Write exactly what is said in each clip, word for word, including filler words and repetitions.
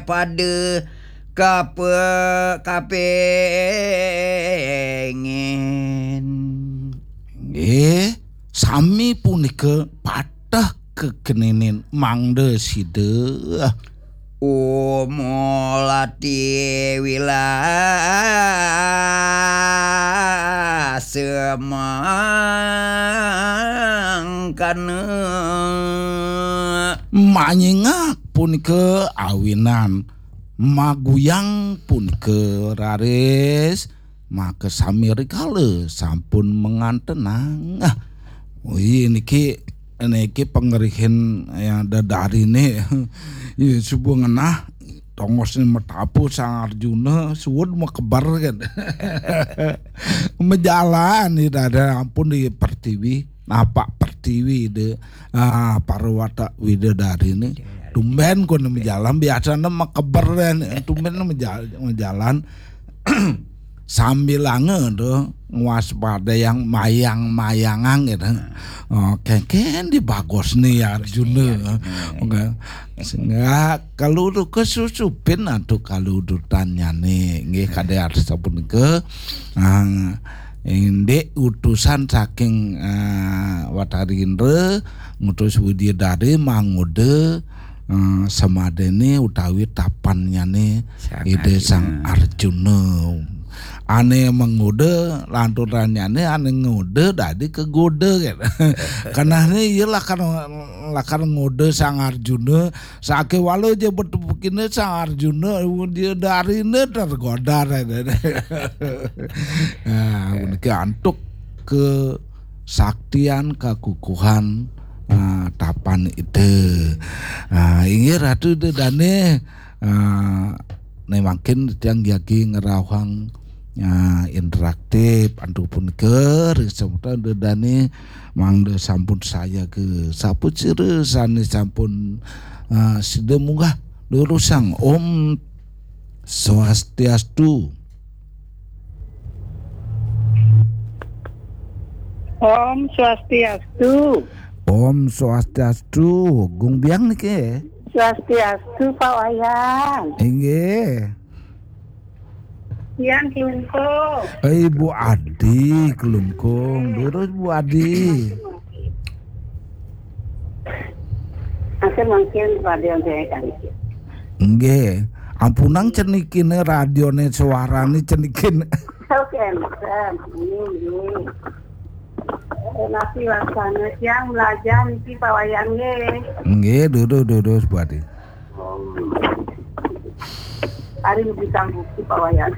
pada kape-, kapengin. Nggih, sami punika pateh kekeninin mangda sida. Umulati wila semangkana. Manyingak punika awinan, maguyang punika raris, maka sami rikala sampun mangantenang. Ah, ui, niki, niki pangerihin yang dedarine. Ya, suba ngenah, tongosne matapu Sang Arjuna, suud makeber kan. Majalan, ya, dada ampun di pertiwi, napak pertiwi de, ah, para watak widadarine. Tumben kono majalan, biasane makeber kan. Tumben maja-, majalan. Sambilanga to ngwaspadayang mayang-mayangang gitu. Oh, kengken di bagusne Arjuna. Oke. Sehingga kalau tu kesusupin atau kalau dutannyane nggih kade arsa punika, ah, indik utusan saking, ah, Watari Indra ngutus Widyadari mangoda, ah, samadene utawi tapannyane Sang Ida Sang Arjuna. Arjuna. Ane mangoda, lanturannyané ane ngoda dadi kegoda, gitu. Kenehné iya lakar, lakar ngoda Sang Arjuna, sakéwala ja betepukina Sang Arjuna, dia darina tergoda. Nah, puniki antuk kesaktian, kakukuhan, ah, tapan Ida. Ah, inggih Ratu Ida Dané, ah, né mangkin tiang jagi ngrauhang, ah, interaktif antuk punika ring semeton Ida Dané mangda sampun sayaga. Sapasira sané sampun, ah, sida munggah durusang. Om Swastiastu. Om Swastiastu. Om Swastiastu. Gung Biang niki. Swastiastu, Pak Wayan. Inggih. Tiang Klungkung. Eh, Ibu Adi Klungkung. Durus, Bu Adi. Mangkin, mangkin radio saya kan. Nggih. Ampunang cenikine radione suarane cenikin. Oke, Mas. Ini, ini. Eh, nasi laksana siang belajar niki Pak Wayan nggih. Nggih, durus, durus, Bu Adi. Hari lebih sanggup Pak Wayan.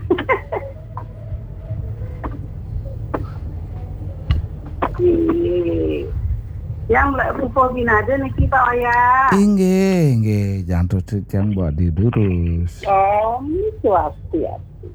Nggih. Yang mulai pupuh binada niki Pak Wayan. Inggih, inggih. Jantos titiang Bu Adi durus. Om Swastiastu.